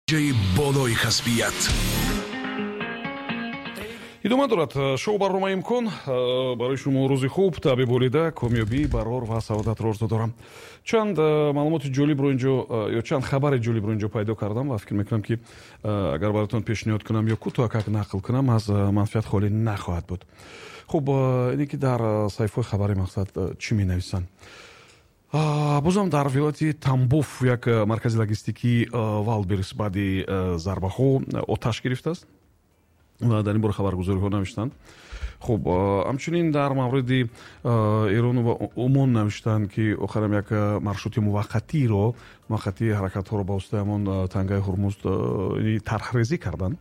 Болои касбият. Идома дорад шоу барномаи «Имкон». Барои шумо рӯзи хуб, табъи болида, комёбӣ, барор ва саодатро орзу дорам. Чанд маълумоти ҷолибро инҷо ё чанд хабари ҷолибро инҷо пайдо кардам ва фикр мекунам, ки агар бароятон пешниҳод кунам ё кӯтоҳакак нақл кунам, аз манфиат холӣ нахоҳад буд. Хуб, ине ки дар саҳифаҳои хабари мақсад чӣ менависанд. Бозам дар вилояти Тамбов як маркази логистикии Вайлдберриз баъди зарбаҳо оташ гирифтааст ва дар ин бора хабаргузориҳо навиштанд. Хуб, ҳамчунин дар мавриди Эрону ва Умон навиштанд, ки охирам як маршрути муваққатиро, муваққатии ҳаракатҳоро ба воситаи ҳамон тангаи Ҳурмуз тарҳрезӣ карданд.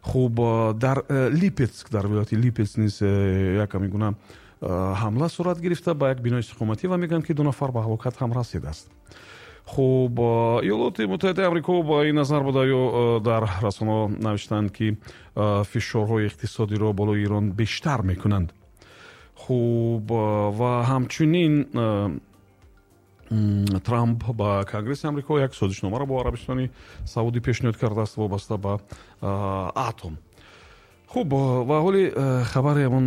Хуб, дар Липецк, дар вилояти Липецк низ як ҳамин гуна ҳамла сурат гирифта ба як бинои истиқоматӣ ва мегӯянд, ки ду нафар ба ҳалокат ҳам расидааст. Хуб, Иёлоти Муттаҳидаи Амрико ба ин назар буда ё дар расонаҳо навиштанд, ки фишорҳои иқтисодиро болои Эрон бештар мекунанд. Хуб, ва ҳамчунин Трамп ба Конгресси Амрико як созишномаро бо Арабистони Саудӣ пешниҳод кардааст вобаста ба атом. Хуб, ва ҳоли хабари ҳамон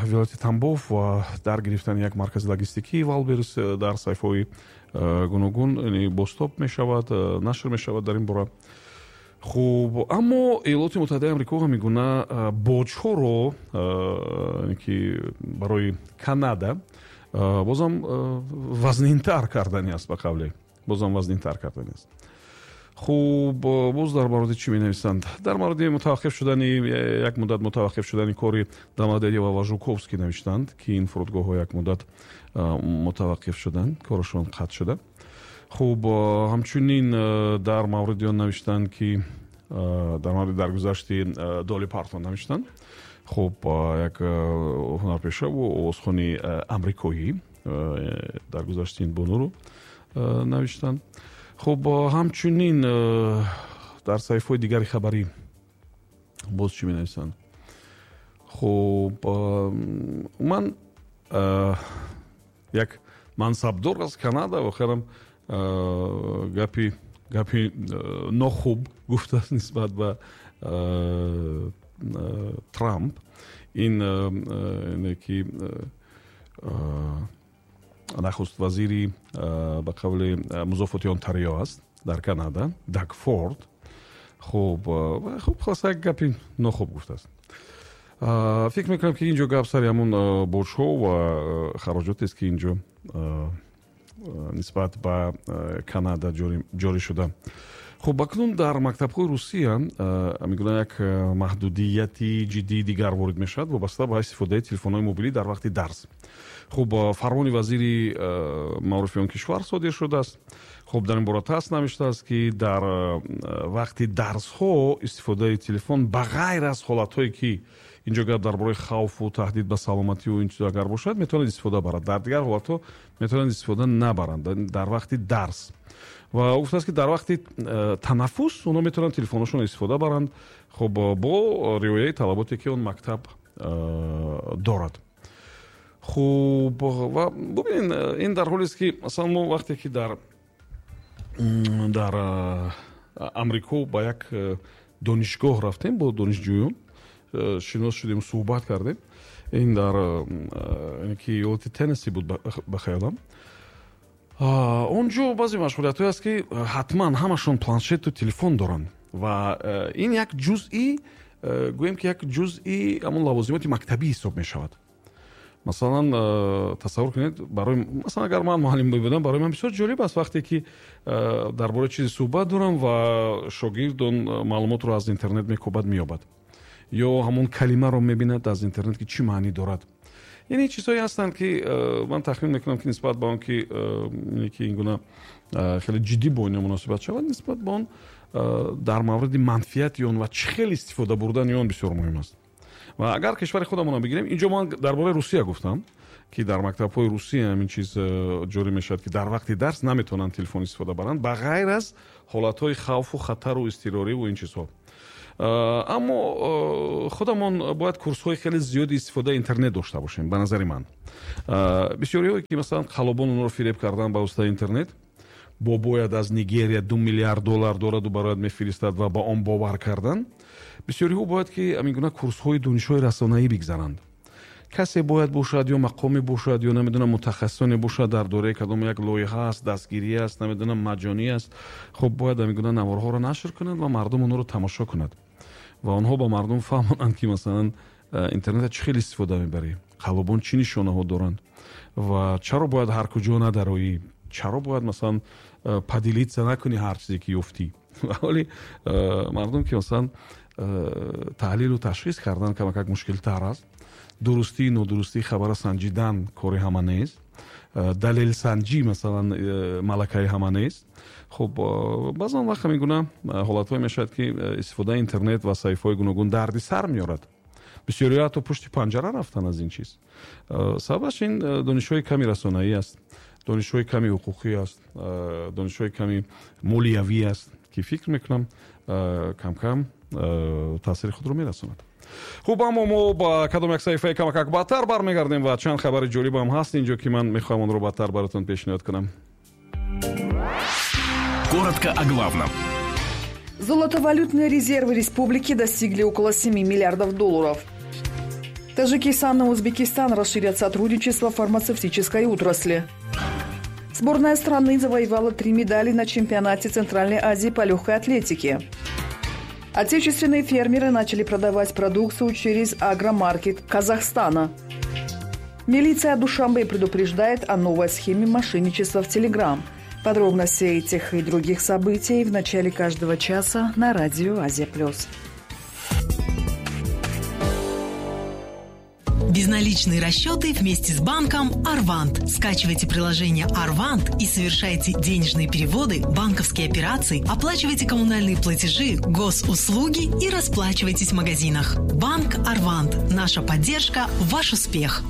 вилояти Тамбов ва дар гирифтани як маркази логистикии Вайлдберриз дар саҳифаҳои гуногун бозтоб мешавад, нашр мешавад дар ин бора. Хуб, аммо Иёлоти Муттаҳидаи Амрико ҳамин гуна боҷҳоро, ки барои Канада, бозам вазнинтар кардани аст, ба қавле, бозам вазнинтар кардани аст. Хуб, боз дар мавриди чӣ менависанд? Дар мавриди мутаваққиф шудани, як муддат мутаваққиф шудани кори Домодедово ва Жуковский навиштанд, ки ин фурудгоҳҳо як муддат мутаваққиф шуданд, корашон қатъ шуда. Хуб, ҳамчунин дар мавриди он навиштанд, ки дар мавриди даргузашти Доли Партон навиштанд. Хуб, як ҳунарпешаву овозхони амрикоӣ, даргузашти ин бонуро навиштанд. Хуб, ҳамчунин дар саҳифаҳои дигари хабарӣ боз чӣ менависанд? Хуб, ман як мансабдор аз Канада охирам гапи нохуб гуфтааст нисбат ба Трамп. Ин ки нахуст вазири, ба қавли, музофоти Онтарио аст дар Канада, Даг Форд. Хуб, хулоса, як гапи нохуб гуфтааст. Фикр мекунам, ки инҷо гап сари ҳамон боҷҳо ва хароҷотест, ки инҷо нисбат ба Канада ҷорӣ шуда. Хуб, акнун дар мактабҳои Русия мегӯянд, як маҳдудияти ҷиддии дигар ворид мешавад вобаста ба истифодаи телефонҳои мобилӣ дар вақти дарс. Хуб, фармони вазири маорифи он кишвар содир шудааст. Хуб, дар ин бора ТАСС навиштааст, ки дар вақти дарсҳо истифодаи телефон, ба ғайр аз ҳолатҳое ки инҷо гап дар бораи хавфу таҳдид ба саломатию ин чизо агар бошад, метавонад истифода барад, дар дигар ҳолатҳо метавонанд истифода набаранд дар вақти дарс. Ва ӯ гуфтааст, ки дар вақти танаффус онҳо метавонанд телефонҳошонро истифода баранд, хуб, бо риояи талаботе, ки он мактаб дорад. Хуб, ва бубинед, ин дар ҳолест, ки масалан мо вақте ки дар Амрико ба як донишгоҳ рафтем, бо донишҷӯён шинос шудем, суҳбат кардем. Ин дар ки иёлати Теннесси буд, ба хаёлам. Он ҷо баъзе машғулиятҳое аст, ки ҳатман ҳамашон планшету телефон доранд ва ин як ҷузъи, гӯем ки як ҷузъи ҳамон лавозимоти мактабӣ ҳисоб мешавад. Масалан, тасаввур кунед, барои масалан, агар ман муаллим мебудам, барои ман бисёр ҷолиб аст, вақте ки дар бораи чизе суҳбат дорам ва шогирд он маълумотро аз интернет мекобад, меёбад ё ҳамон калимаро мебинад аз интернет, ки чӣ маънӣ дорад. Яъне чизҳое ҳастанд, ки ман тахмин мекунам, ки нисбат ба он ки ин гуна хеле ҷиддӣ бо ино муносибат шавад, нисбат ба он дар мавриди манфиати он ва чӣ хел истифода бурдани он бисёр муҳим аст. Ва агар кишвари худамонро бигирем, инҷо ман дар бораи Русия гуфтам, ки дар мактабҳои Русия ҳамин чиз ҷорӣ мешавад, ки дар вақти дарс наметавонанд телефон истифода баранд, ба ғайр аз ҳолатҳои хавфу хатару изтирориву ин чизҳо. Аммо худамон бояд курсҳои хеле зиёди истифодаи интернет дошта бошем. Ба назари ман, бисёриҳое ки масалан қаллобон онҳоро фиреб кардан ба воситаи интернет, Бобояд аз Нигерия 2 миллиард доллар дораду барояд мефиристад ва ба он бовар кардан. Бисёриҳо бояд ки ҳамин гуна курсҳои донишҳои расонаӣ бигзаранд. Касе бояд бошад, ё мақоме бошад, ё, намедонам, мутахассисоне бошад дар дораи кадом як лоиҳа аст, дастгирӣ аст, намедонам, маҷҷонӣ аст. Хуб, бояд ҳамин гуна наворҳоро нашр кунанд ва мардум онҳоро тамошо кунад ва онҳо ба мардум фаҳмонанд, ки масалан, интернета чӣ хел истифода мебарӣ, қаллобон чӣ нишонаҳо доранд ва чаро бояд ҳар куҷо надароӣ, чаро бояд, масалан, поделиться накунӣ ҳар чизе ки ёфтӣ. Ҳоли мардум ки, масалан, таҳлилу ташхис кардан камакак мушкилтар аст, дурустии нодурустии хабара санҷидан кори ҳама нест, далелсанҷӣ, масалан, малакаи ҳама нест. Хуб, баъзан вақт ҳамин гуна ҳолатҳое мешавад, ки истифодаи интернет ва саҳифаҳои гуногун дарди сар меорад. Бисёриҳо ҳатто пушти панҷара рафтан аз ин чиз. Сабабаш ин донишҳои ками расонаӣ аст, донишҳои ками ҳуқуқӣ аст, донишҳои ками молиявӣ аст, ки фикр мекунам, камкам таъсири худро мерасонад. Хуб, аммо мо ба кадом як саҳифаи камакак баъдтар бармегардем ва чанд хабари ҷолибам ҳаст инҷо, ки ман мехоҳам онро баъдтар баротон пешниҳод кунам. Коротко о главном. Золотовалютные резервы республики достигли около 7 миллиардов долларов. Таджикистан и Узбекистан расширят сотрудничество в фармацевтической отрасли. Сборная страны завоевала три медали на чемпионате Центральной Азии по легкой атлетике. Отечественные фермеры начали продавать продукцию через агромаркет Казахстана. Милиция Душанбе предупреждает о новой схеме мошенничества в Телеграм. Подробности этих и других событий в начале каждого часа на радио «Азия плюс». Безналичные расчеты вместе с банком «Арвант». Скачивайте приложение «Арвант» и совершайте денежные переводы, банковские операции, оплачивайте коммунальные платежи, госуслуги и расплачивайтесь в магазинах. Банк «Арвант». Наша поддержка – ваш успех.